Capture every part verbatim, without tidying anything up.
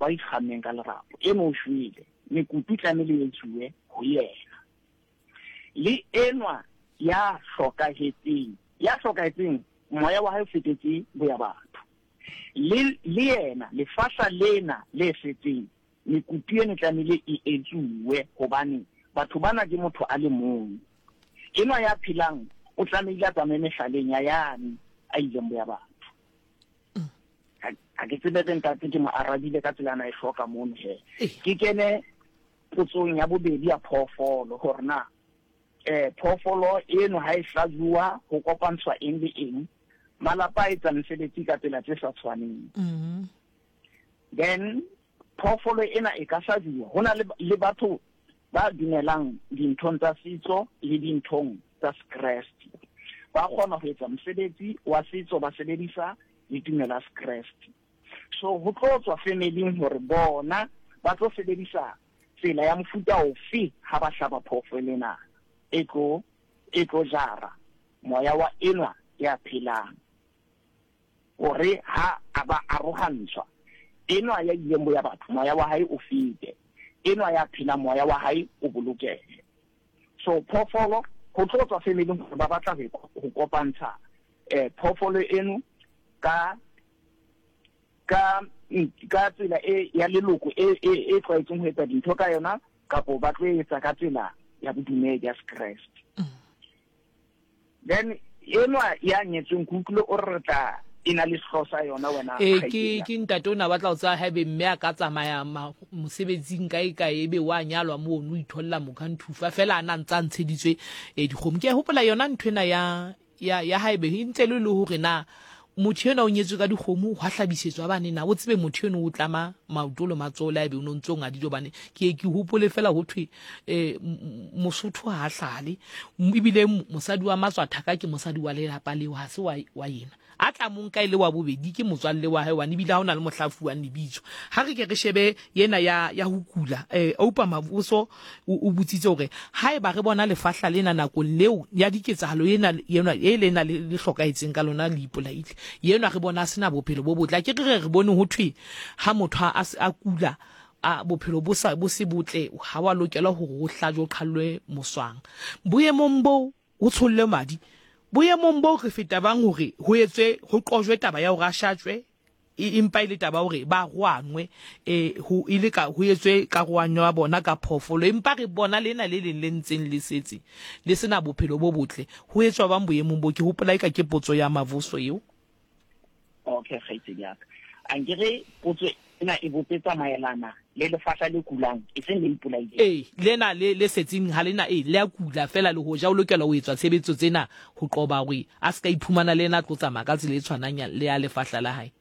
Lerapo a ikgammeng ka lerapo. Eno o shwele, mekutu tlamehile e etsuwe ho yena. Le enwa ya hlokahetseng, ya hlokahetseng moya wa hae o fetetse boya batho. Le le yena lefahla lena le setseng, mekutu eno tlamehile e etsuwe hobane batho bana ke motho a le mong. Enwa ya phelang o tlamehile a tsamaye mehlaleng ya yane a ileng boya batho. Ha ke tsebe re ntate ke mo arabile ka tsela ana e hloka mono he. Ke kene potsong ya bobedi ya phoofolo hore na eh phoofolo eno ha e hlajuwa ho kopantshwa eng le eng, malapa a etsa mesebetsi ka tsela tse sa tshwaneng. Mm. Then phoofolo ena e ka hlajuwa. Ho na le, le batho ba dumelang dinthong tsa setso le dinthong tsa Sekreste. Ba kgona ho etsa mosebetsi wa setso ba sebedisa le tumelo ya Sekreste. So ho tlo tswa family-ing hore bona ba tlo sebedisa tsela ya mofuta ofe ha ba hlaba phoofolo ena e tlo, e tlo jara moya wa enwa ya phelang. Hore ha a ba arohantshwa, enwa ya ileng boya batho moya wa hae o fete, enwa ya phelang moya wa hae o bolokehe. So phoofolo ho tlo tswa family-ing hore ba batla ho, ho kopantsha eh phoofolo eno ka, ka, ka tsela e ya leloko e, e, e tlwaetseng ho etsa dintho ka yona, kapo ba tlo etsa ka tsela ya bodumedi ya Sekreste. Then enwa ya nyetsweng ke utlwile o re re tla e na le sehlooho sa yona wena Eh, ke kgaitsedi. ke ntate o na batla ho tseba haebe mme a ka tsamaya ma-, mosebetsing kae kae ebe wa nyalwa mono, o itholla mokhanthufa fela a na ntse a ntsheditswe, eh, dikgomo. Ke a hopola yona nthwena ya, ya, ya haebe e ntse le le hore na motho enwa o nyetswe ka dikgomo, hwa hlabisetswa bane na o tsebe motho enwa o tlama maoto le matsoho le haebe o no ntso ngadile, hobane ke ye ke hopole fela ho thwe, eh, m-, m-, Mosotho ha a hlale, m-, ebile m-, mosadi wa matswathaka ke mosadi wa lelapa leo, ha se wa, wa yena. A tla mo nka e le wa bobedi ke motswalle wa hae, hobane ebile ha hona le mohla a fuwang lebitso. Ha re ke re shebe yena ya, ya ho kula, eh, Oupa Mavuso o, o botsitse hore haeba re bona lefahla lena nakong leo ya diketsahalo ena, ena, e lena le, le hlokahetseng ka lona le ipolaile, yena re bona a sena bophelo bo botle. Ke re re bone ho thwe ha motho a, a kula, a bophelo bo sa, bo se botle, ha wa lokela hore o hlajwe, o qhallwe moswang. Boemong bo o tsholle madi, boemong bo re feta bang hore ho etswe, ho qojwe taba ya hore a shatjwe, e empa e le taba hore ba roanwe, eh, ho e le ka, ho etswe karohanyo ya bona ka phoofolo, empa re bona lena le leng le ntseng le setse le sena bophelo bo botle, ho etswa bang boemong bo? Ke hopola eka ke potso ya Mavuso eo. Okay, kgaitsedi ya ka. Ankere potso ena e bopetsa maelana le lefahla le kulang, e seng le ipolaileng. Ee, lena le, le setseng ha lena, ee, le a kula fela le hoja o lokela ho etswa tshebetso tsena ho qoba hore a se ka iphumana le ena a tlo tsamaya ka tsela e tshwanang ya, le ya lefahla la hae.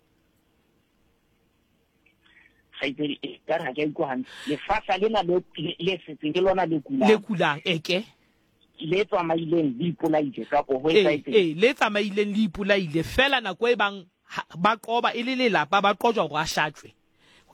Kgaitsedi, e ka re ha ke a utlwa hantle. Lefahla lena le, le, le setseng ke lona le kulang. Le kulang, e ke. Le tsamaileng le ipolaile kapo ho Ee, etsahetseng? ee, le tsamaileng le ipolaile fela nako e bang ha, ba qoba e le lelapa, ba qojwa hore a shatjwe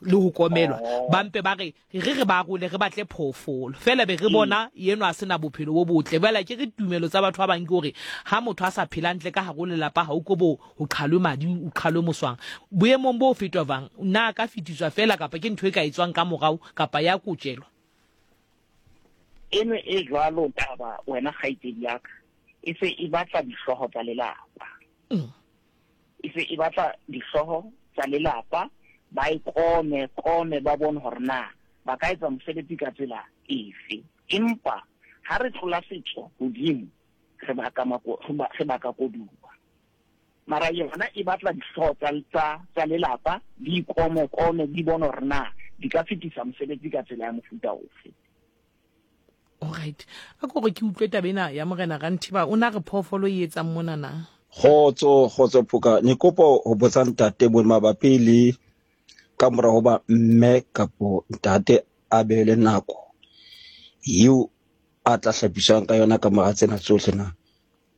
le ho komelwa. Oh. Ba mpe ba re, re re ba role, re batle phoofolo. Fela be re Mm. bona enwa a sena bophelo bo botle. Jwale ke re tumelo tsa batho ba bang ke hore ha motho a sa phela hantle ka hare ho lelapa, ha o ko bo ho qhalwe madi, o qhalwe moswang. Boemong bo fetwa bang, na ka fetiswa fela kapa ke ntho e ka etswang ka morao kapa ya kotjelwa? Eno e jwalo taba wena kgaitsedi ya ka, e se e batla dihlooho tsa lelapa. Mm. E se e batla dihlooho tsa lelapa, ba e kome, kome ba bone hore na ba ka etsa mosebetsi ka tsela efe. Empa ha re tlola setso hodimo, re baka mako-, re ba-, re baka koduwa. Mara yona e batla dihlooho tsa, tsa, tsa lelapa, di ikome, kome, di bone hore na di ka fetisa mosebetsi ka tsela ya mofuta ofe. Alright. A ko re ke utlwe taba ena ya Morena Ranthiba, o na re phoofolo e etsang mona na? Kgotso, kgotso Phoka. Ne kopa ho botsa ntate bo mabapi le ka mora hoba mme kapo ntate a be le nako eo a tla hlapiswang ka yona ka mora tsena tsohle na?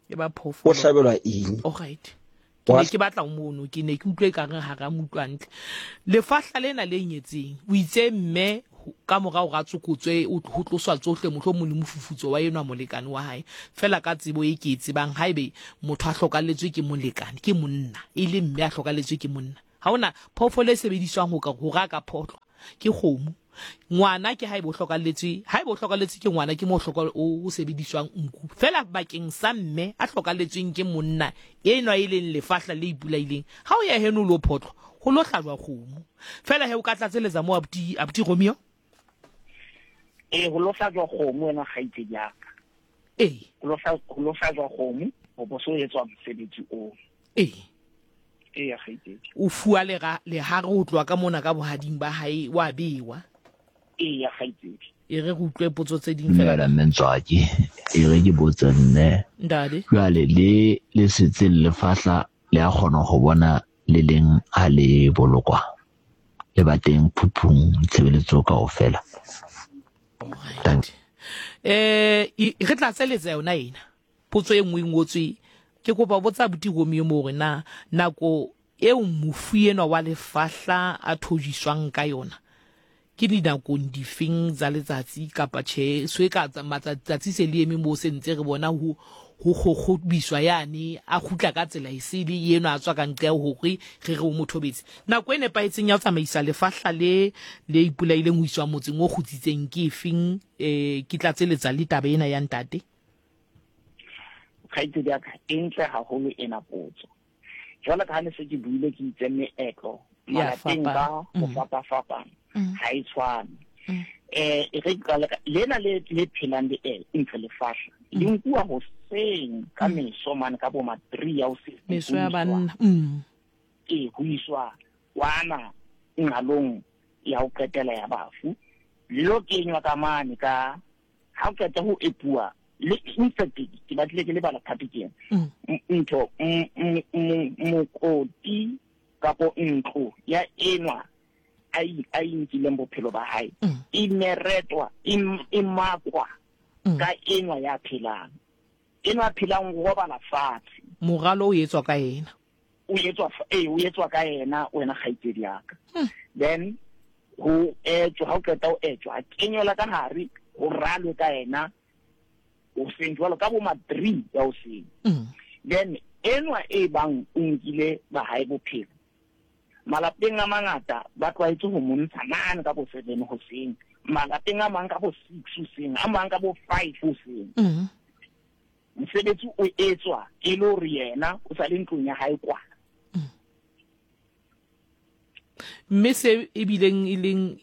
E ba phoofolo. O hlabelwa eng? Alright. Ke ne ke batla ho mono, ke ne ke utlwe ekare ha ra mo utlwa hantle. Lefahla lena le nyetseng, o itse mme ka mora hore a tsokotswe, o ho tloswa tsohle, mohlomong le mofufutso wa enwa molekane wa hae. Fela ka tsebo e ke e tsebang, haebe motho a hlokalletswe ke molekane, ke monna, e le mme a hlokalletswe ke monna, ha hona phoofolo e sebediswang ho ka, hore a ka photlwa. Ke kgomo. Ngwana ke haeba o hlokalletswe, haeba o hlokalletswe ke ngwana ke mo hloka o sebediswang nku. Fela bakeng sa mme a hlokalletsweng ke monna enwa e leng lefahla le ipolaileng, ha o ya heno lo photlwa, ho lo hlajwa kgomo. Fela he o ka tlatseletsa mo abuti abuti Romeo? Eh ho lo hlajwa kgomo wena kgaitsedi ya ka. Eh ho lo ho lo hlajwa kgomo ho bo so etswa mosebetsi oo. Eh eh kgaitsedi. O fuwa le lehare ho tloha ka mona ka bohading ba hae wa bewa. E ya kgaitsedi. E re re utlwe potso tse ding fela. Dumela mme Ntswaki, e re ke botse nne. Ntate. Jwale le le setseng lefahla le a kgona ho bona le leng ha le bolokwa. Le ba teng phuphung tshebeletso kaofela. Right. Eh re tla tseletsa yona ena. Potso e nngwe e ngotswe ke kopa botsa abuti Romeo mo hore na nako eo mofu enwa wa lefahla a thojiswang ka yona ke dinakong difeng tsa letsatsi kapa tjhe so e ka matsatsi se le eme mo se ntse re bona ho ho kgokgobiswa yane a kgutla ka tsela e sele eno a tswa ka ntle hore re re o mothobetse. Nako e nepahetseng ya ho tsamaisa lefahla le le ipolaileng ho iswa motseng o kgutsitseng ke efeng? Eh ke tlatseletsa le taba ena ya ntate. Kgaitsedi ya ka e ntle haholo ena potso. Jwalo ka ha ne se ke buile ke itse meetlo malapeng ka ho fapafapana ha e tshwane. Eh e re qale ka lena le le phelang le e ntse lefahla le nkuwa hoseng ka meso mane ka bo ma three ya hoseng meso ya banna mm e ho iswa kwana ngalong ya ho qetela ya bafu lo kenywa ka mane ka ha o qeta ho epuwa le in fact ke batlile ke lebala phapikeng ntho mokoti kapo ntlo ya enwa a a inkileng bophelo ba hae e meretwa e makwa ka enwa ya phelang enwa phelang go robala fatshe moralo o etswa ka yena o etswa eh o etswa ka yena wena kgaitsedi ya ka. Then ho etswa ha o qeta ho etswa a kenyelwa ka hare ho ralwe ka yena o seng jwalo ka bo ma three ya o seng. Then enwa e bang o nkile ba hae bophelo malapeng a mangata ba tlwaetse ho montsha mane ka bo seven hoseng, malapeng a mang ka bo six hoseng, a mang ka bo five hoseng. Mosebetsi o etswa e le hore yena o sa le ntlong ya hae kwana. Mme se e bileng e leng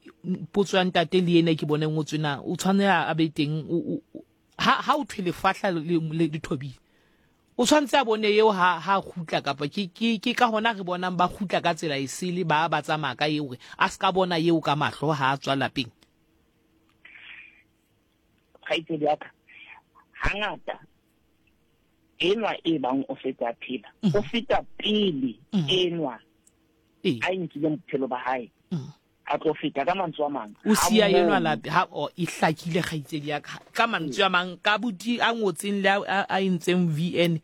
potso ya ntate le ena ke bone ngotswe na o tshwanela a be teng ha ha o thwe lefahla le le thobile o tshwantse a bone eo ha ha kgutla kapa ke ke ke ka hona re bonang ba kgutla ka tsela e sele ba ba tsamaya ka eo hore a ska bona eo ka mahlo ha a tswa lapeng. Kgaitsedi ya ka hangata enwa e bang o feta phela o feta pele enwa a nkileng bophelo ba hae a tlo feta ka mantswe a mang o siya enwa lape ha o e hlakile kgaitsedi ya ka ka mantswe a mang ka buti a ngotseng le a entseng V N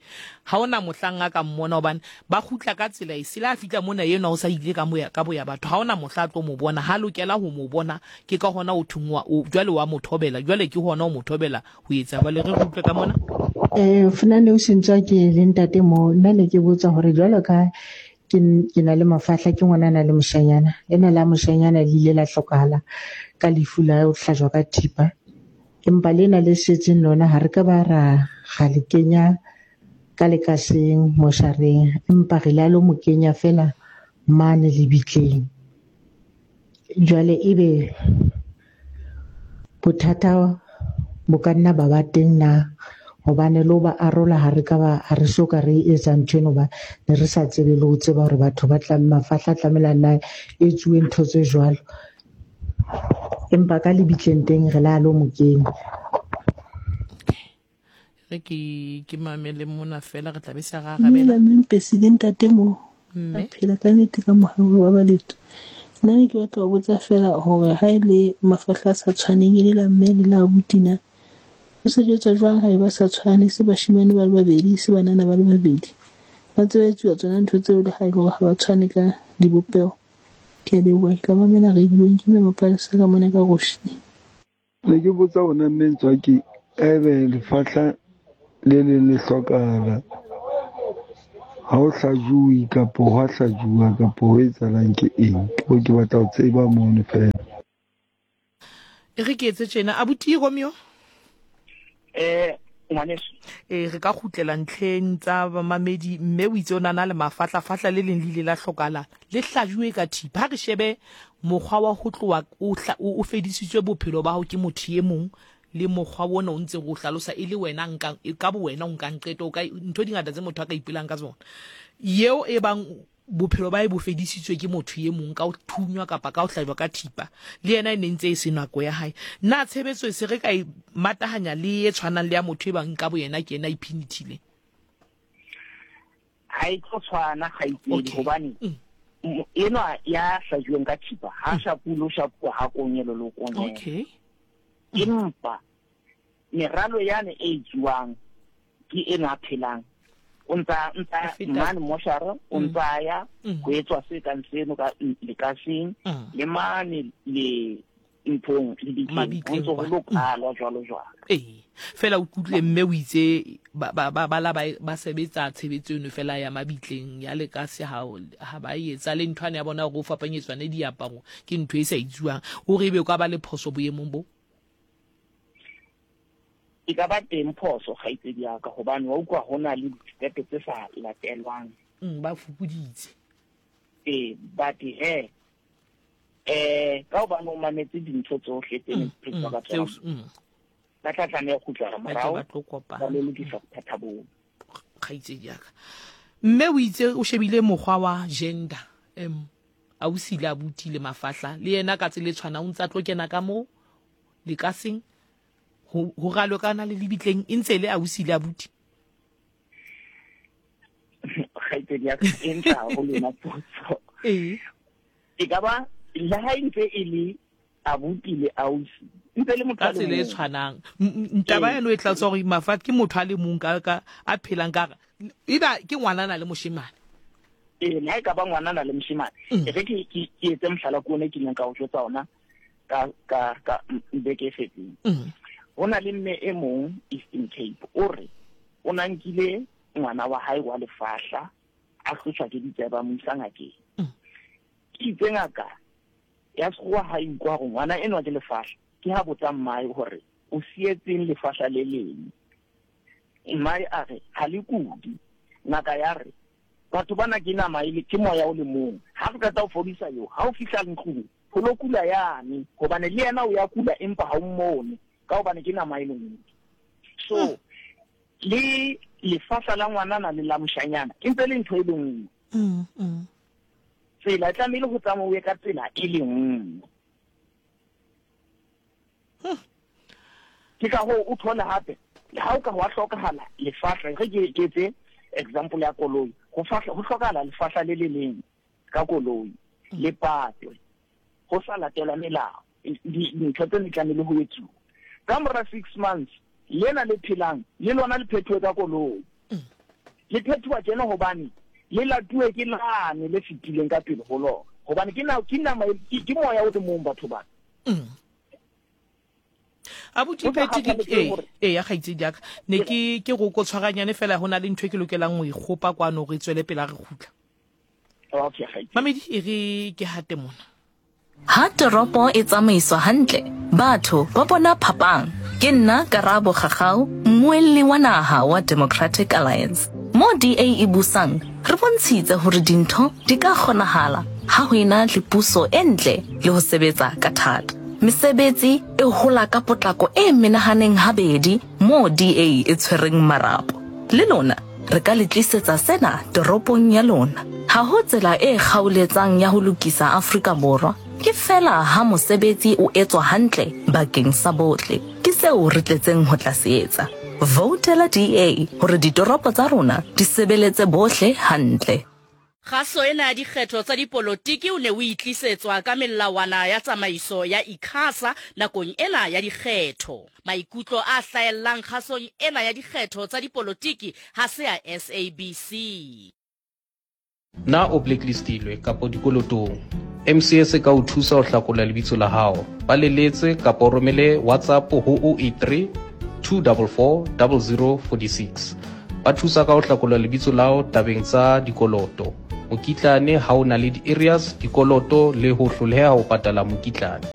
ha ona mohlang a ka mmona hobane ba kgutla ka tsela e sele a fitla mona enwa o sa ile ka moya ka boya batho ha ona mohla tlo mo bona ha lokela ho mo bona ke ka hona o thungwa o jwale wa mothobela jwale ke hona o mothobela ho etsa ba le re utlwe ka mona. Eh funa o sentswa ke le ntate mo nna ne ke botsa hore jwalo ka ke ke na le mafahla ke ngwana na le moshanyana lena la moshanyana le ile la hlokahala ka lefu la ho hlajwa ka thipa empa lena le setseng lona ha re ka ba ra ga le kenya ka lekaseng moshareng empa re la lo mo kenya fela mane lebitleng. Jwale ebe bothata bo ka nna ba ba teng na hobane lo ba arola ha re ka ba ha re so ka re etsa ntho eno ba ne re sa tsebe le ho tseba hore batho ba tla mafahla tlamela na e tsuwe ntho tse jwalo empa ka lebitleng teng re la lo mo kenya. Re ke ke mamele mona fela re tla be se ra arabela. Mme president ntate mo mme phela ka nnete ka mohau wa baletho. Nna ke batla ho botsa fela hore ha ile mafahla a sa tshwaneng e le la mme le la abuti na o sebetsa jwang ha e ba sa tshwane se bashimane ba le babedi se banana ba le babedi ba tsebetsuwa tsona ntho tseo le ha e le hore ha ba tshwane ka dibopeho. Ke a leboha, ke tla mamela radio-ng ke mme Mapalesa ka mona ka Roshni. Ne ke botsa hona mme Ntswaki ebe lefahla le leng le hlokahala ha o hlajuwe kapo hwa hlajuwa kapo ho etsahalang ke eng? Ke ke batla ho tseba mono fela. E re ke etse tjena abuti Romeo. Eh ngwaneso e re ka kgutlela ntlheng tsa bamamedi mme o itse o nana le mafatlafahla le leng le ile la hlokala le hlajuwe ka thipa. Ha re shebe mokgwa wa ho tloha o fedisitswe bophelo ba hao ke motho e mong le mokgwa ona o ntse go hlalosa e le wena nka ka bo wena o nkang qeto ka ntho di ngata tse motho a ka ipelang ka tsona. Yeo e bang bophelo ba e bo fedisitswe ke motho e mong ka o thunywa kapa ka o hlajwa ka thipa le yena e ne ntse e se nako ya hae. Na tshebetso e se re ka e matahanya le e tshwanang le ya motho e bang ka bo yena ke yena iphinithile? Ha e tlo tshwana kgaitsedi hobane enwa ya hlajuweng ka thipa ha shapulo shapuwa ha konyelo lo konyelo. Okay. Empa meralo yane e etsuwang ke ena phelang o ntsa ntsa mane moshara o ntsa ya ho etswa se kang seno ka lekaseng le mane le nthong le ditleng ho ntso ho lokalwa jwalo jwalo. Ee fela o kutlwe mme o itse ba ba ba la ba sebetsa tshebetso eno fela ya mabitleng ya lekase ha ha ba etsa le nthwane ya bona go fapanyetswane diaparo ke ntho e sa itsuwang o re ebe o ka ba le phoso boemong bo. E ka ba teng phoso kgaitsedi ya ka hobane wa utlwa ho na le ditepe tse sa latelwang. Mm, ba fupuditse. Ee, but he eh ka hobane o mametse dintho tsohle tse neng di ka tsona. Ba tla tlameha ho kgutlela morao ba tlo kopana ba lo lokisa bothata boo. Kgaitsedi ya ka. Mme o itse o shebile mokgwa wa gender em ausi le abuti le mafahla le yena ka tsela e tshwanang o ntsa tlo kena ka mo lekaseng ho ralo kana le lebitleng e ntse le ausi le abuti. Kgaitsedi ya ka e ntle haholo yona potso. Ee. E ka ba le ha e ntse e le abuti le ausi ntse le motho ka tsela e tshwanang. Ntaba eno e tla tswa hore mafat ke motho a le mong ka ka a phelang ka eba ke ngwanana le moshemane. Ee, le ha e ka ba ngwanana le moshemane. E re ke ke etse mohlala ko one ke ileng ka o jwetsa ona ka ka ka beke e fetseng. Ho na le mme e mong Eastern Cape o re o na nkile ngwana wa hae wa lefahla a hlotshwa ke ditsebe mo isa ngakeng. Ke itse ngaka ya sekgowa ha e utlwa hore ngwana enwa ke lefahla ke ha botsa mmae hore o sietseng lefahla le leng. Mmae a re ha le kudi. Ngaka ya re batho bana ke nama e le ke moya o le mong ha re qeta ho fodisa yo ha o fihla ntlong ho lo kula yane hobane le yena o ya kula empa ha o mmone ka hobane ke nama e le nngwe. So le lefahla la ngwanana le la moshanyana e ntse le ntho e le nngwe. Mm, mm. Tsela e tlamehile ho tsamauwe ka tsela e le nngwe. Ke ka hoo o thole hape le ha o ka hwa hlokahala lefahla re ke ke etse example ya koloi ho fahla ho hlokahala lefahla le le leng ka koloi le patwe ho sa latelwa melao dintho tse di tlamehile ho etsuwa. Ka mora six months lena le phelang le lona le phethuwe ka koloi. Le phethuwa tjena hobane le latuwe ke lane le fetileng ka pele ho lona hobane ke na ke nama ke moya o le mong batho bana. Abuti Peti ke e e ya kgaitsedi ya ka ne ke ke go ko tshwaranyane fela hona le ntho e ke lokelang ho ikgopa kwano re tswele pele re kgutla. Okay kgaitsedi. Mamedi e re ke hate mona. Ha toropo e tsamaiswa hantle, batho ba bona phapang. Ke nna Karabo Kgagao, mmuelli wa naha wa Democratic Alliance. Mo D A e busang, re bontshitse hore dintho di ka kgonahala ha ho ena le puso e ntle le ho sebetsa ka thata. Mesebetsi e hola ka potlako e menahaneng habedi mo D A e tshwereng marapo. Le lona re ka le tlisetsa sena toropong ya lona. Ha ho tsela e kgaoletsang ya ho lokisa Afrika Borwa, ke fela ha mosebetsi o etswa hantle bakeng sa bohle. Ke seo re tletseng ho tla se etsa. Voutela D A hore ditoropo tsa rona di sebeletse bohle hantle. Kgaso ena ya dikgetho tsa dipolotiki o ne o itlisetswa ka melawana ya tsamaiso ya ICASA nakong ena ya dikgetho. Maikutlo a hlahellang kgasong ena ya dikgetho tsa dipolotiki ha se ya S A B C. Na o blacklistilwe kapa dikolotong? M C S e ka o thusa ho hlakola lebitso la hao. Ba leletse kapa o romele WhatsApp ho oh eight three, two four four, zero zero four six. Ba thusa ka ho hlakola lebitso la hao tabeng tsa dikoloto, mokitlane ha o na le di-areas, dikoloto le ho hloleha ho patala mokitlane.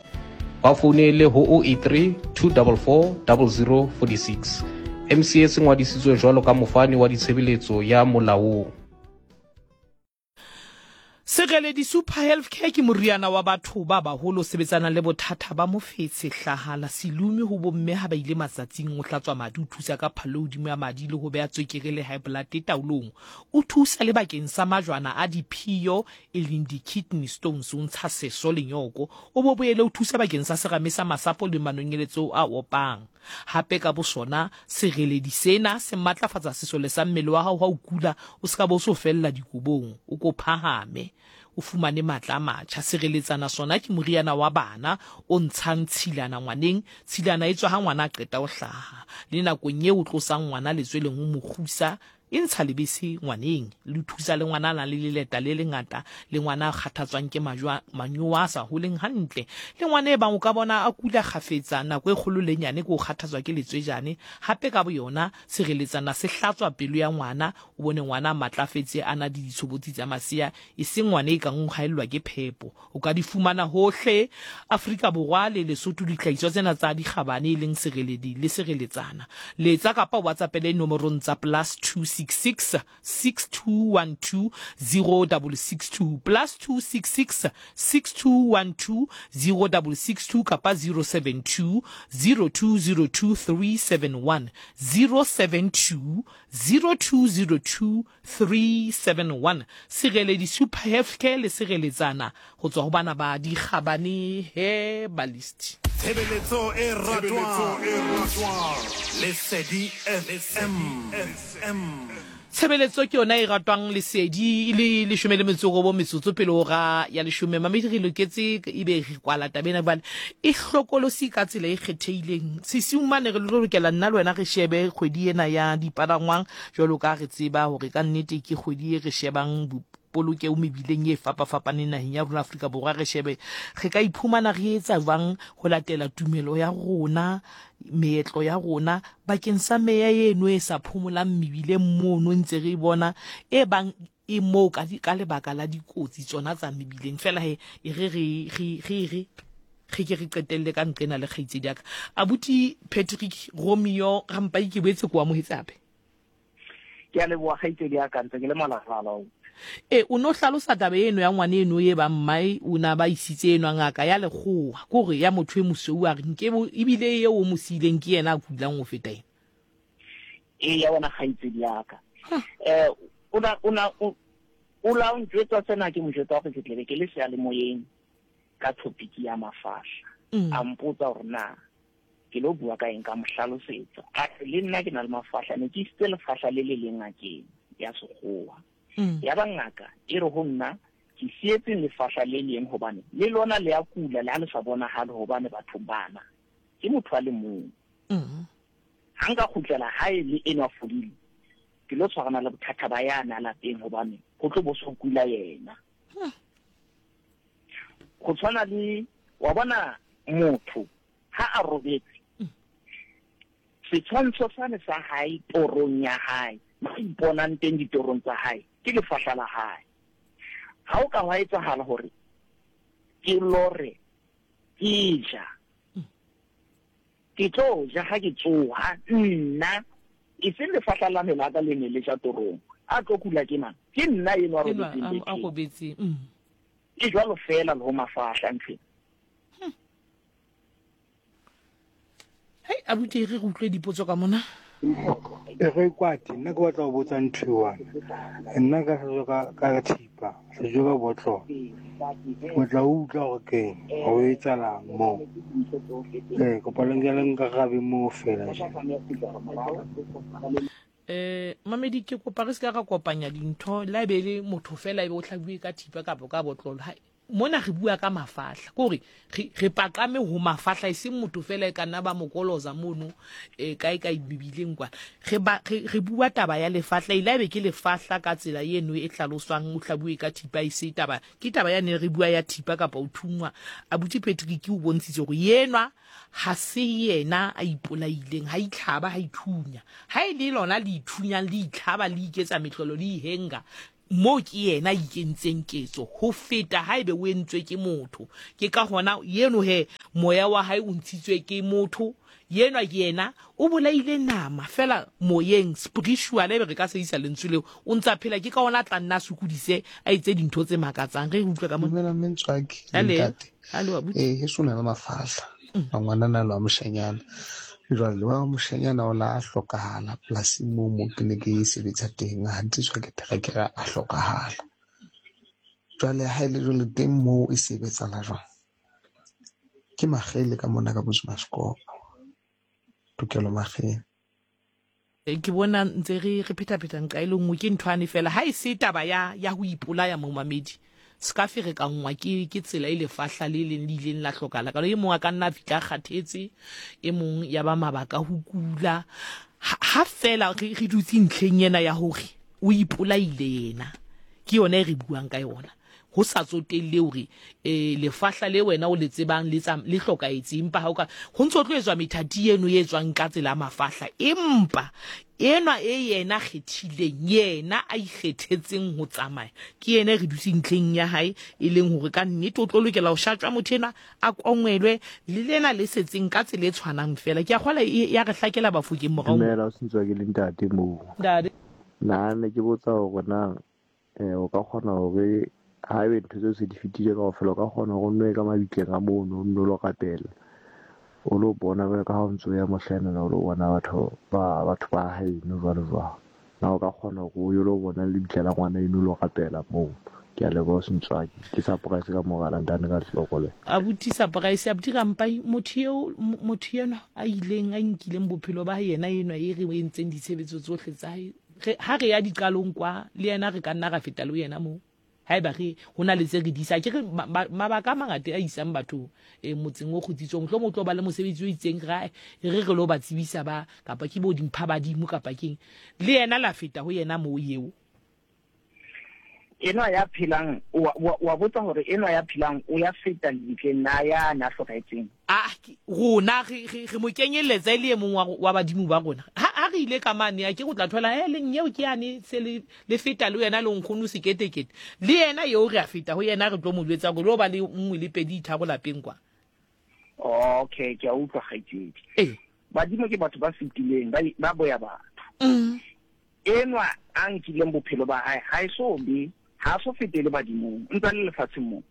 Ba founele ho oh eight three, two four four, zero zero four six. M C S e ngwadisitswe jwalo ka mofani wa ditshebeletso ya molaong. Sereledi Super Healthcare ke moriana wa batho ba baholo sebetsanang le bothata ba mofetshe, hlahala, selume ho bomme ha ba ile matsatsing, o hlatswa madi, o thusa ka phalo hodimo ya madi le ho beha tswekere le high blood taolong. O thusa le bakeng sa majwana a diphiyo e leng di-kidney stones, o ntsha seso le nyoko, o bo boele o thusa bakeng sa serame sa masapo le manonyeletso a opang. Hape ka bosona sereledi sena se matlafatsa sesole sa mmele wa hao ha o kula, o ska bo so fella dikobong, o ko phahame, o fumane matla a matjha. Sireletsana sona ke moriana wa bana o ntshang tshilana ngwaneng, tshilana e tswa ha ngwana a qeta ho hlaha, le nakong eo o tlosang ngwana letsweleng o mo kgusa, e ntsha lebese ngwaneng, le thusa le ngwana a nang le leleta le lengata, le ngwana a kgathatswang ke majwa manyowa a sa holeng hantle, le ngwana e bang o ka bona a kula kgafetsa nako e kgolo le nyane ke o kgathatswa ke letswejane. Hape ka boyona sireletsana se hlatswa pelo ya ngwana, o bone ngwana a matlafetse a na le ditshobotsi tsa masea, e seng ngwana e kang o haellwa ke phepo. O ka di fumana hohle Afrika Borwa le Lesotho dihlahiswa tsena tsa dikgabane e leng sereledi le sireletsana. Letsa kapa WhatsApp-ele nomorong tsa plus two six six, six two one two, zero double six two, plus two six six, six two one two, zero double six two kapa zero seven two, zero two zero two three seven one, zero seven two, zero two zero two three seven one. Sereledi Super Healthcare le sireletsana ho tswa ho bana ba dikgabane he balist. Tshebeletso e ratwang Lesedi F M. Tshebeletso ke yona e ratwang Lesedi le leshome le metso e robong metsotso pele hora ya leshome. Mamedi re loketse ebe re kwala taba ena jwale e hlokolosi ka tsela e kgethehileng. Sesiung mane re lokela nna le wena re shebe kgwedi ena ya dipalangwang jwalo ka re tseba hore ka nnete ke kgwedi e re shebang polokeo mebileng e fapafapaneng naheng ya rona Afrika Borwa. Re shebe re ka iphumana re etsa jwang ho latela tumelo ya rona, meetlo ya rona bakeng sa meya eno e sa phomolang mebileng mono ntse re bona e bang e moo ka ka lebaka la dikotsi tsona tsa mebileng. Fela he e re re re re re re ke re qetelle ka nqena le kgaitsedi ya ka abuti Patrick Romeo Rampai ke boetse ko amohetse hape. Ke a leboha kgaitsedi ya ka, ntse ke le malala. E o no hlalosa taba eno ya ngwane eno e ba mmae o na ba isitse eno ngaka ya lekgowa kore ya motho e mosweu a re nke ebile eo o mo siileng ke yena a kulang ho feta ena. E ya wona kgaitsedi ya ka. Eh o na o na o la o njwetsa sena ke mo jwetsa hore ke tlebe ke le seyalemoyeng ka topic ya mafahla. A mpotsa hore na ke lo bua ka eng, ka mo hlalosetsa. A re le nna ke na le mafahla, ne ke isitse lefahla le le leng ngakeng ya sekgowa. Ya ba ngaka e re ho nna ke sietse lefahla le leng hobane le lona le ya kula le ha le sa bonahale hobane batho bana ke motho a le mong. Ha nka kgutlela hae le eno a fodile ke lo tshwarana le bothata ba yana lapeng hobane ho tlo bo so kula yena. Go tshwana le wa bona motho ha a robetse setshwantsho sane sa hae torong ya hae ma iponang teng ditorong tsa hae ke lefahla la hae. Ha o ka wa etsahala hore ke lore ke ja ke tlo ja ha ke tsoha nna e seng lefahla la me la ka le ne le ja torong a tlo kula ke mang ke nna eno a robetseng a robetse. Ke jwalo fela le ho mafahla ntho. Hei abuti re utlwe dipotso ka mona. E re kwati nna ke batla ho botsa ntho e one. Nna ka hlajwa ka ka thipa, hlajwa ka botlolo. Ke tla utlwa hore keng, ho etsahalang moo. Eh, kopa le nke le nkarabe moo fela tje. Eh mamedi ke kopa re se ka ra kopanya dintho la ebe le motho fela ebe o hlabuwe ka thipa kapa ka botlolo. Hai Mona re bua ka mafahla, ke hore re re paqame ho mafahla, e seng motho fela e ka nna ba mokoloza mono e kae kae mebileng kwana. Re ba re, re bua taba ya lefahla, ile ebe ke lefahla ka tsela eno e hlaloswang, o hlabuwe ka thipa, e se taba ke taba ya ne re bua ya thipa kapa o thungwa. Abuti Patrick o bontshitse hore yenwa ha se yena a ipolaileng, ha itlhaba, ha ithunya. Ha e le lona le ithunyang, le itlhaba, le iketsa mehlolo, le ihenga, mo ke yena a ikentseng ketso ho feta haebe o entswe ke motho. Ke ka hona yeno he moya wa hae o ntshitswe ke motho, yenwa ke yena o bolaile nama fela moyeng, spiritual, ebe re ka sebedisa lentswe leo, o ntsa phela. Ke ka hona a tla nna a sokodise, a etse dintho tse makatsang. Re utlwe ka mona. Dumela mme Ntswaki, Hale, ntate. hale wa buti. Eh, heso na le mafahla. A ngwanana le wa moshanyana. Jwale wa moshanyana o la hlokahala polasing moo mo ke ne ke sebetsa teng, ha ntiswa ke terekere a hlokahala. Jwale ha e le jwale teng moo e sebetsana jwang? Ke Makgele ka mona ka Bosmaskopo. Tokelo Makgele. Ke bona ntse re re phetapheta nqa e le nngwe, ke nthwane fela. Ha e se taba ya ya ho ipolaya momamedi, se ka ferekanngwa ke ke tsela e lefahla le leng le ileng la hlokahala. Ka e mong a ka nna a fihla a kgathetse, e mong ya ba mabaka ho kula. Ha, ha fela re re dutse ntlheng ena ya hore o ipolaile yena, ke yona e re buang ka yona. Ho sa tsotelle hore eh lefahla le wena o le tsebang le tsa le hlokahetse, empa ha o ka ho ntso tlo etswa methati eno e etswang ka tsela ya mafahla, empa enwa e yena kgethileng, yena a ikgethetseng ho tsamaya, ke yena e re dutse ntlheng ya hae, e leng hore ka nnete o tlo lokela ho shatjwa motho enwa, a kongwelwe le lena le setseng ka tsela e tshwanang fela. Ke a kgolwa e ya re hlakela Bafokeng morao. Dumela, o sentswa ke le ntate moo. Ntate. Nna ne ke botsa hore na eh o ka kgona hore haebe ntho tseo se di fetile kaofela, o ka kgona hore o nno ye ka mabitleng a mono, o nno lo rapela, o lo bona jwalo ka ha o ntso ya mohlaenana, o lo bona batho ba batho ba haeno jwalo jwalo. Na o ka kgona hore o yo lo bona lebitla la ngwana eno, o lo rapela moo? Ke a leboha Sentswaki. Ke surprise ka mogala ntane ka hloko le. Abuti surprise, abuti Rampai, motho eo, motho enwa a ileng a nkileng bophelo ba hae, yena enwa e re o entseng ditshebetso tsohle tsa hae. Re ha re ya diqalong kwa le yena, re ka nna ra feta le yena moo. Haeba re ho na le tse re di isa, ke re mabaka a mangata a isang batho eh motseng o kgutsitsweng, mohlomong o tlo ba le mosebetsi o itseng, ra re re lo ba tsebisa ba kapa ke bo dimpha badimo kapa keng, le yena la feta ho yena moo eo. Enwa ya phelang, wa, wa, wa botsa hore enwa ya phelang o ya feta lebitleng na ya na hlokahetseng? Ah, rona re re re mo kenyelletsa e le e mong wa wa badimo ba rona. Ha ha re ile ka mane, a ke go tla thola e leng eo ke yane se le le feta le yena le nkgono seketekete. Le yena eo re a feta ho yena, re tlo mo jwetsa hore lo ba le nngwe le pedi tharo lapeng kwa. Okay, ke a utlwa kgaitsedi. Eh. Badimo ke batho ba fetileng, ba ba boya batho. Mm. Enwa a nkileng bophelo ba hae, ha e so be, ha so fetele badimong, ntse le lefatsheng moo.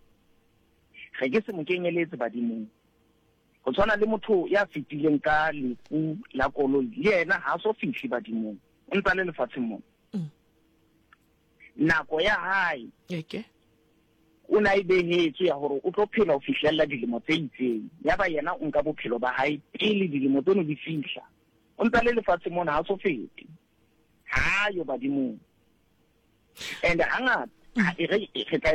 Re ke se mo kenyeletse badimong. Ho tshwana le motho ya fetileng ka lefu la koloi, le yena ha so fihle badimong, ntse le lefatsheng moo. Mm. Nako ya hae Okay. o na e behetswe ya hore o tlo phela ho fihlella dilemo tse itseng. Ya ba yena o nka bophelo ba hae pele dilemo tseno di fihla. O ntse le lefatsheng mona, ha so fete. Ha yo badimong. And hangata e re re tla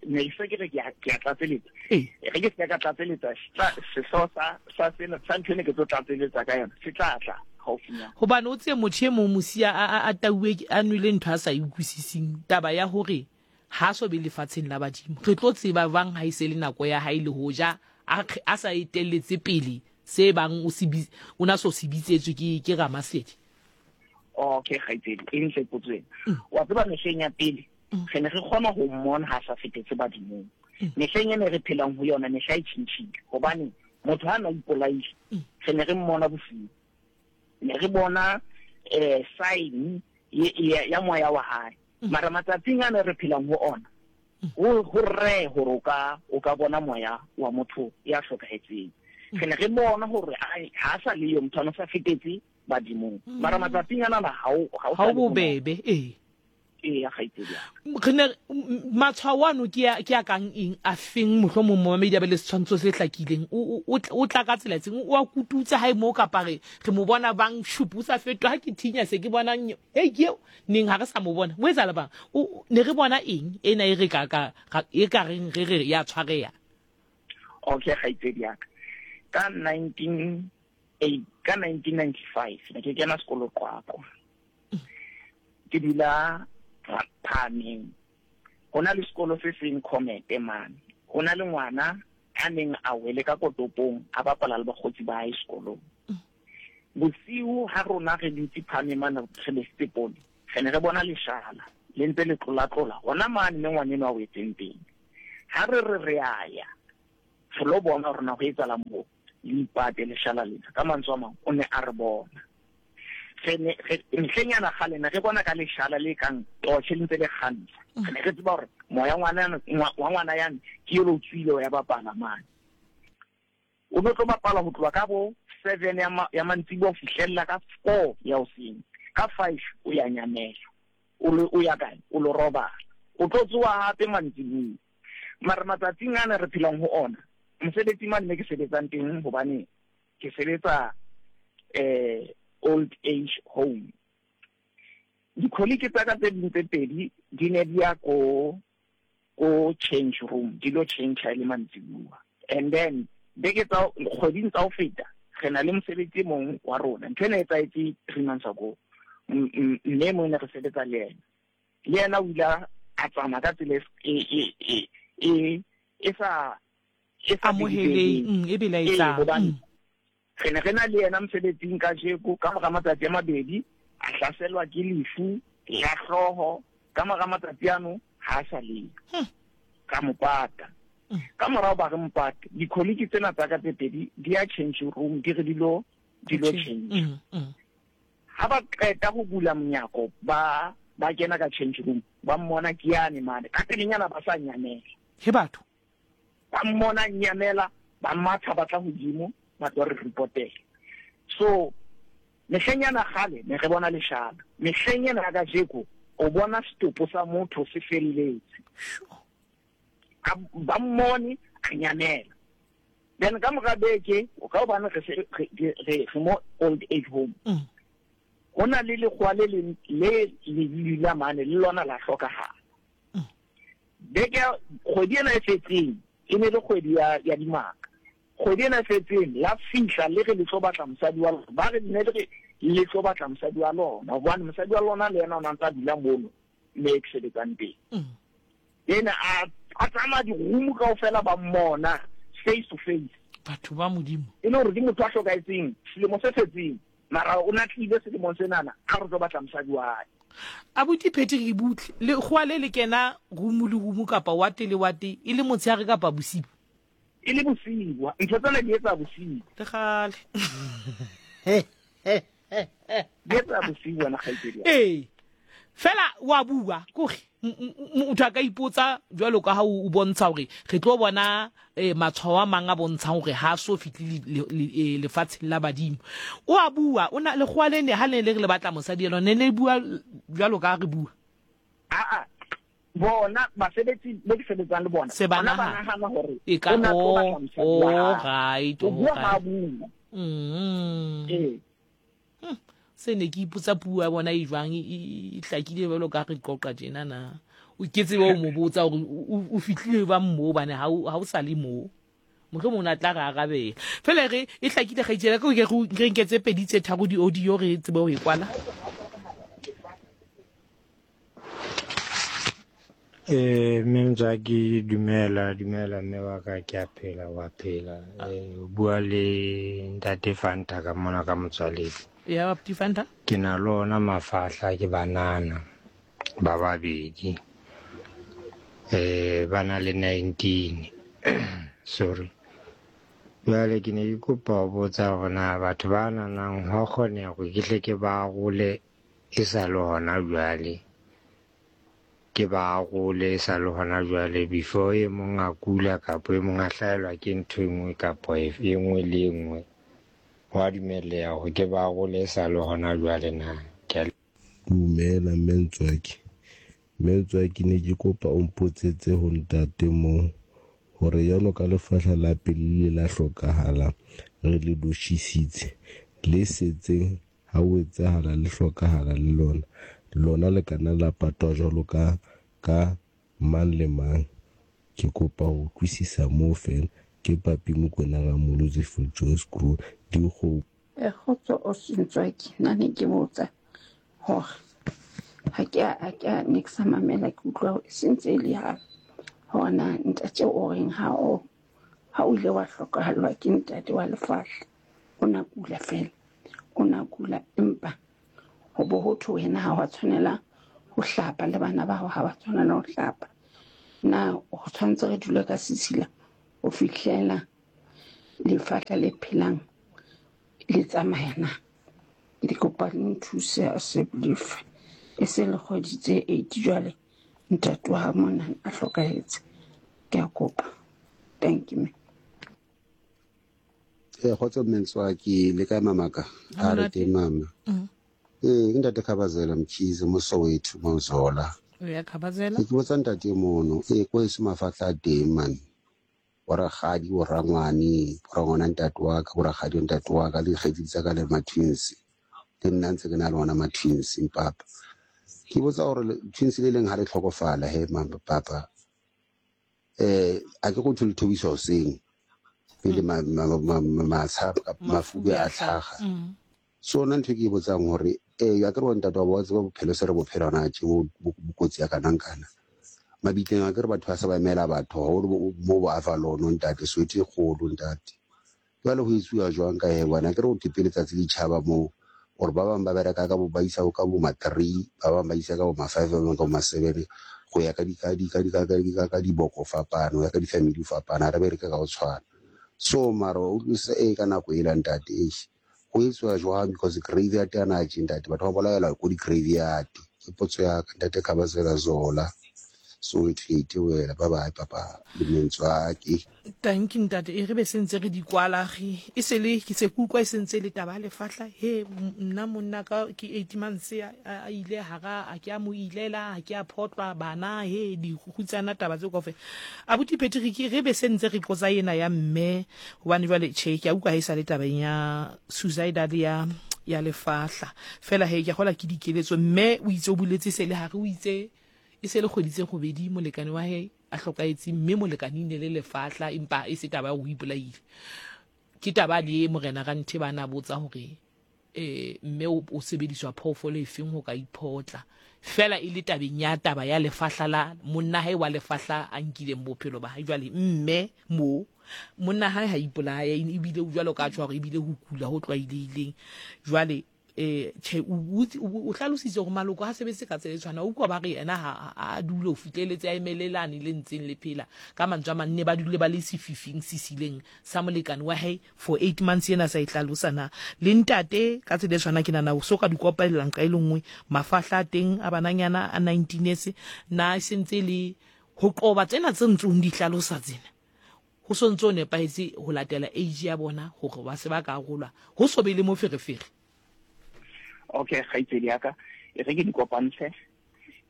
ne se ke re ke a tlatseletsa. Re ke se ka tlatseletsa sehlooho sa sa sena sa ntho ene ke tlo tlatseletsa ka yona, se tla tla haufinyana. Hobane o tse motho e mong mosia a a tauwe a nwele ntho a sa e utlwisising, taba ya hore ha so be lefatsheng la badimo. Re tlo tseba bang ha e se le nako ya hae, le hoja a a sa etelletse pele se bang o se o na so se bitsetswe ke ke Ramasedi. Okay, kgaitsedi, e ntle potso ena. Wa tseba mehleng ya pele re ne re kgona ho mmona ha sa fetetse badimong. Mehleng ena re phelang ho yona, mehla e tjhentjhile, hobane motho ha na ipolaile, re ne re mmona bosiu. Ne re bona eh sign ya moya wa hae. Mara matsatsing ana re phelang ho ona, ho ho re hore o ka o ka bona moya wa motho ya hlokahetseng. Re ne re bona hore ha sa le yo motho a sa fetetse badimong. Mara matsatsing ana ha o ha o bobebe, eh. Ee, kgaitsedi ya Re ne matshwao ano ke a ke a kang eng a feng, mohlomong momamedi a be le setshwantsho se hlakileng? O o o tla ka tsela tseng, o a kututsa hae mo, kapa re re mo bona bang shupu o sa fetoha? Ha ke thinya se ke bona hei ke eo neng ha re sa mo bona mo etsahala bang, o ne re bona eng ena e re ka ka e ka reng re re ya tshwareha? Okay, kgaitsedi ya ka, ka nineteen eight ka nineteen ninety five ne ke kena sekolo Qwaqwa, ke dula Phahameng. Ho na le sekolo se seng Comete mane, ho na le ngwana a neng a wele ka kotopong a bapala le bakgotsi ba hae sekolong. Bosiu ha rona re dutse Phahameng mane re besitse pole, re ne re bona leshala le ntse le tlolatlola hona mane mme ngwana enwa a wetseng teng. Ha re re re a ya re lo bona hore na ho etsahala moo, le ipate leshala lena. Ka mantswe a mang, o ne a re bona. Re ne re ntlhenyana kgale ne re bona ka leshala le kang torch le ntse le kgantsha. Re ne re tseba hore moya ngwana wa ngwana yane ke elo tswile ya bapala mane. O no tlo bapala ho tloha ka bo seven ya ma, ya mantsiboya ho fihlella ka four ya hoseng. Ka five o ya nyamela. O lo o ya kae? O lo robala. O tlo tsoha hape mantsiboya. Mara matsatsing ana re phelang ho ona, mosebetsi mane me ke sebetsang teng, hobane ke sebetsa eh old age home. Di-colleague tsa ka tse ding tse pedi di ne di ya ko ko change room, di lo change ha e le mantsibuya. And then beke tsa kgweding tsa ho feta re na le mosebetsi e mong wa rona, ntho ena e etsahetse three months ago. Mme mong ne re sebetsa le yena, le yena o ile a tsamaya ka tsela e e e e e sa e sa amoheleng, e belaetsang. Hobane re ne re na le yena mosebetsing kajeko, ka mora matsatsi a mabedi a hlaselwa ke lefu la hlooho. Ka mora matsatsi ano ha a sa le ka mopata. Ka morao ba re mopate, di-colleague tsena tsa ka tse pedi di ya change room, di re di lo di lo change. Ha ba qeta ho bula monyako, ba ba kena ka change room, ba mmona ke yane mane ka pelenyana ba sa nyamela. He batho ba mmona nyamela, ba matha ba tla hodimo, ba tlo re reportela. So mehleng yana kgale ne re bona leshala, mehleng ena ya kajeko o bona setopo sa motho se felletse. Ba mmone a nyamela. Then ka mora beke, o ka hobane re se re re mo old age home, ho na le lekgowa le leng le le dula mane le lona la hlokahala. Beke kgwedi ena e fetseng e ne le kgwedi ya ya dimaka. Kgwedi ena e fetseng la fihla le re le tlo batla mosadi wa lona, ba re ne le re le tlo batla mosadi wa lona, hobane mosadi wa lona le yena o na ntsa dula mono mme ke sebetsang teng. Ena a a tsamaya di-room kaofela ba mmona face to face. Batho ba Modimo. E le hore ke motho a hlokahetseng selemo se fetseng, mara o na tlile selemong senana a re tlo batla mosadi wa hae. Abuti Patrick butle, lekgowa le le kena room le room kapa wate le wate, e le motshehare kapa bosiu? E le bosiu, ntho tsena di etsa bosiu. Le kgale. Di etsa bosiu wena kgaitsedi. Ee. Fela wa bua kore motho a ka ipotsa jwalo ka ha o bontsha hore re tlo bona matshwao a mang a bontshang hore ha so fihle lefatsheng la badimo. O a bua, o na lekgowa le ne ha le le re le batla mosadi ena, ne le bua jwalo ka ha re bua. A a bona basebetsi le ke sebetsang le bona, Se ba bona ba nahana. nahana hore E ka o na tlo batla o mosadi wa hae. right, O o bua ha right. bua. Mm. Ee. Se ne ke ipotsa puo ya bona e jwang, e hlakile jwalo ka re qoqa tjena na. O ke tsebe o mo botsa hore o fihlile ba moo bane ha o ha o sa le moo. Mohlomong o na tla re arabela. Fela re e hlakile kgaitsedi ka ke re nke tse pedi tse tharo di audio re tsebe ho e kwala. Eh mme Ntswaki, dumela dumela mme wa ka, ke a phela wa phela. Eh o bua le ntate Fanta ka mona ka Motswaledi. Ya Bapti Fanta? Ke na le ona mafahla ke banana ba babedi. Eh ba na le nineteen. Sorry. Jwale ke ne ke kopa ho botsa hore na batho ba nanang ho kgoneha hore ke hle ke ba arole e sa le hona jwale. Ke ba arole e sa le hona jwale before e mong a kula kapa e mong a hlahelwa ke ntho e nngwe kapa e nngwe le e nngwe. Ho a dumelleha hore ke ba arole e sa le hona jwale na? Ke a Dumela mme Ntswaki. Mme ke ne ke kopa o mpotsetse ho ntate moo hore jwalo ka lefahla la pele le la hlokahala re le loshisitse le setseng ha o etsahala le hlokahala le lona lona le kana la patwa jwalo ka ka mang le mang. Ke kopa ho utlwisisa moo fela. Ke Papi Mokoena Ramolotsi for Joyce Crew dikgo. E kgotso o Sentswaki, nna ne ke botsa hore ha ke a ke a ne ke sa mamela, ke utlwa e sentse e le ha hore na ntate o reng ha o ha o ile wa hlokahallwa ke ntate wa lefahla, o na kula fela, o na kula empa ho bo ho thwe wena ha wa tshwanela ho hlapa le bana ba hao ha ba tshwanela ho hlapa. Na ho tshwanetse re dule ka sesila ho fihlela lefahla le phelang le tsamaya na? Ke kopa le nthuse a se lefe e se le kgwedi tse eight jwale ntate wa mona a hlokahetse. Ke a kopa. Thank you. Eh kgotso Mmentswaki le kae mamaka? A re teng mama. Eh ntate Khabazela Mkhize mo Soweto mo Zola. Ya Khabazela. Ke botsa ntate mono e ko e mafatla a teng man. Bo rakgadi, bo rangwane, bo rangwana ntate wa ka, bo rakgadi ntate wa ka le dikgaitsedi tsa ka le ma-twins. Le nna ntse ke na le ona ma-twins papa. Ke botsa hore twins le leng ha le tlhokofala he mama papa. Eh a ke go thole thobisa hoseng pele ma ma matsha mafube a tlhaga. So nna ntho e ke e botsang hore eh a ke re wa ntate wa bo tseba bophelo se re bophelo hona tje bo bokotsi ya kana kana. Mabitleng a ke re batho ba sa ba emela batho haholo mo bo Avalon ntate Soweto e kgolo ntate. Jwale ho etsuwa jwang ka he bona ke re ho thwe letsatsi le tjhaba moo hore ba bang ba bereka ka bo ba isa ka bo ma three, ba bang ba isa ka bo ma five, ba bang ka bo ma seven go ya ka di ka di ka di ka di ka ka diboko fapana, ho ya ka di-family fapana, ha re bereke ka ho tshwana. So mara o utlwisisa e ka nako ela ntate eish ho etsuwa jwang because graveyard yana tje ntate batho ba bolaelwa ko di-graveyard. Ke potso ya ka ntate Khabazela Zola. Soweto ke wela bye bye papa le Mmentswaki. Thank you ntate. E re be sentse re di kwala ge e se le ke se kutlwa e sentse le taba lefahla he nna monna ka ke eight months a ile hara a ke a mo ilela a ke a photlwa bana he di kgutsana taba tse kaofela. Abuti Patrick re be sentse re qotsa yena ya mme hobane jwale che ke a utlwa ha e sa le tabeng ya suicidal ya ya lefahla fela he ke gola ke dikeletso mme o itse o buletse se le hare o itse e se le kgwedi tse robedi molekane wa hae a hlokahetse mme molekane ne le lefahla empa e se taba ya ho ipolaile. Ke taba le morena Ranthe bana botsa hore eh mme o sebediswa phoofolo e feng ho ka iphotla fela e le tabeng ya taba ya lefahla la monna hae wa lefahla a nkileng bophelo ba hae. Jwale mme mo monna hae ha ipolaya ebile o jwalo ka tjho hore ebile ho kula ho tlwaelehileng. Jwale eh che o hlalositse hore maloko ha sebetse ka tsela e tshwana o utlwa ba re yena ha a dule ho fihleletse a emelelane le ntseng le phela ka mantswe a mang ne ba dule ba le sefifing sisileng sa molekane wa hae for eight months yena sa e hlalosa na le ntate ka tsela e tshwana ke nana o so ka di kopellang ka e le nngwe mafahla a teng a bananyana a nineteen years na e sentse le ho qoba tsena tse ntsong di hlalosa tsena ho so ntso nepahetse ho latela age ya bona hore ba se ba ka arolwa ho so be le moferefere. Okay, kgaitsedi ya ka e re ke di kopantshe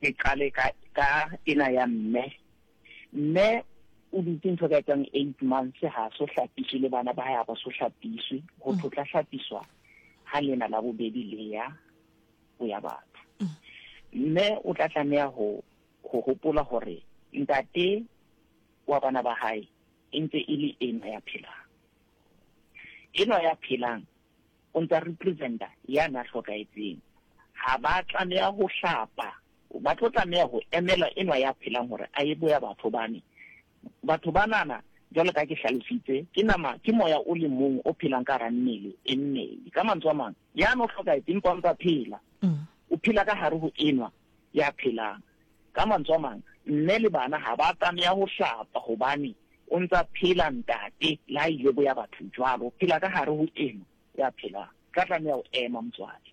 ke qale ka ka ena ya mme. Mme o dutse ntho ka etsang eight months ha so hlapiswe le bana ba hae ha ba so hlapiswe ho tla hlapiswa ha lena la bobedi le ya ho ya batho. Mme o tla tlameha ho ho hopola hore ntate wa bana ba hae e ntse e le ena ya phelang. Ena ya phelang o ntsa representa ya na hlokahetseng. Ha ba tlameha ho hlapa, ba tlo tlameha ho emela enwa ya phelang hore a ye boya batho bane. Batho banana jwalo ka ke hlalositse ke nama ke moya o le mong o phelang ka hara mmele e mmedi. Ka mantswe a mang ya no hlokahetseng empa o ntsa phela. O phela ka hare ho enwa ya phelang. Ka mantswe a mang mme le bana ha ba tlameha ho hlapa hobane o ntsa phela ntate la ile boya batho jwalo, o phela ka hare ho enwa ya phela ka tlameha ho ema motswadi.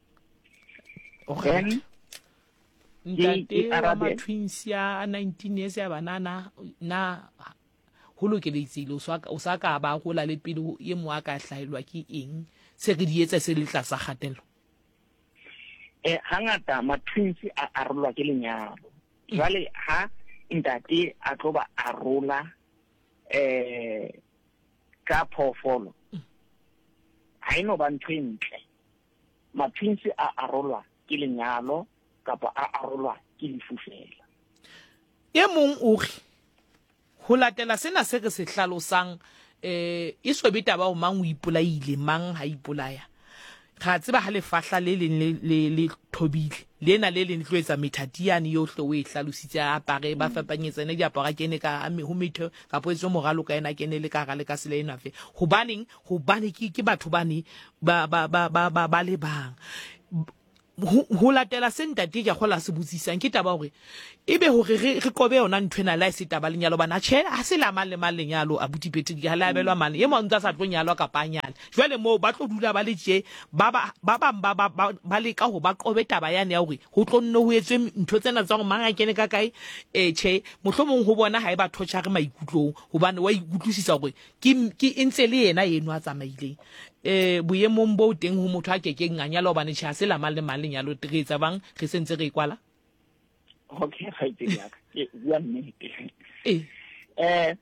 Okay. Ntate wa ma-twins ya nineteen years ya banana na ho lokeletsile o sa ka ba hola le pele e mo a ka hlahelwa ke eng se re di etsa se le tlasa kgatello? Eh hangata ma-twins a arolwa ke lenyalo. Jwale ha ntate a tlo ba arola eh ka phoofolo, ha e no ba ntho e ntle. Ma-twins a arolwa ke lenyalo kapa a arolwa ke lefu fela. E mong o re ho latela sena se re se hlalosang, eh e so be taba ho mang o ipolaile mang ha ipolaya. Ra tseba ha lefahla le leng le le le thobile lena le leng tlo etsa methatiane yohle o e hlalositse, a apare ba fapanyetsane diaparo, a kene ka ho metho kapa etswe moralo ka ena kene le ka hara le ka sele ena fe. Hobaneng? Hobane ke ke batho bane ba ba ba ba ba ba le bang. Ho latela se ntate ke kgola se botsisang ke taba hore ebe hore re re qobe yona ntho ena la e se taba lenyalo bana tjhe ha se la mang le mang lenyalo abuti Patrick ha la abelwa mang e mong ntsa sa tlo nyalwa kapa nyala. Jwale moo ba tlo dula ba le tje ba ba ba bang ba ba ba leka ho ba qobe taba yane ya hore ho tlo nne ho etswe ntho tsena tsa hore mang a kene ka kae eh tjhe mohlomong ho bona ha e ba thotsha re maikutlong hobane wa ikutlwisisa hore ke ke ntse le yena eno a tsamaileng. Eh boemong bo teng ho motho a kekeng a nyala hobane tjhe ha se la mang le mang lenyalo re etsa bang re sentse re kwala. Okay, kgaitsedi ya ka ke bua nnete. Eh eh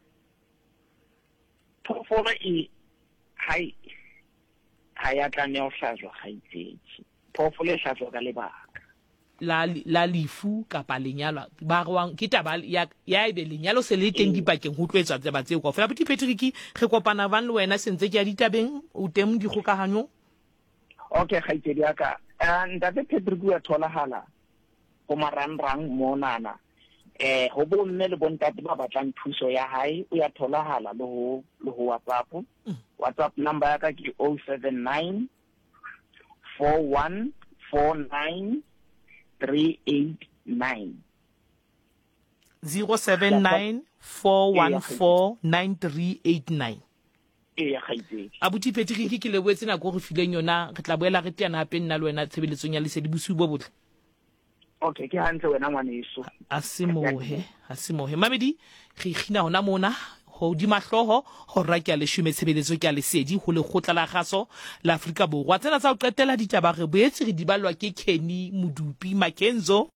phoofolo e ha ha ya tlameha ho hlajwa kgaitsedi. Phoofolo e hlajwa ka lebaka la la lefu kapa lenyalo ba rwang ke taba ya ya ebe lenyalo se le teng dipakeng ho tlo etswa tseba tseo kaofela. Abuti Patrick re kopana bang le wena sentse ke ya ditabeng o teng dikgokahanyong. Okay kgaitsedi ya ka, ntate Patrick o ya tholahala ho marangrang monana eh ho bomme le bontate ba batlang thuso ya hae, o ya tholahala le ho le ho WhatsApp. WhatsApp number ya ka ke oh seven nine four one four nine three eight nine. zero seven nine four one four nine three eight nine. Ee kgaitsedi. Abuti Patrick ke lebohetse nako re fileng yona, re tla boela re teana hape nna le wena tshebeletsong ya Lesedi. Bosiu bo botle. Okay, ke hantle wena ngwaneso. A se mohe, a se mohe. Mamedi re kgina hona mona hodima hlooho hora ke a leshome tshebeletso ke a Lesedi ho lekgotla la kgaso la Afrika Borwa. Tsena tsa ho qetela ditaba re boetse re di ballwa ke Kenny Modupi Makenzo.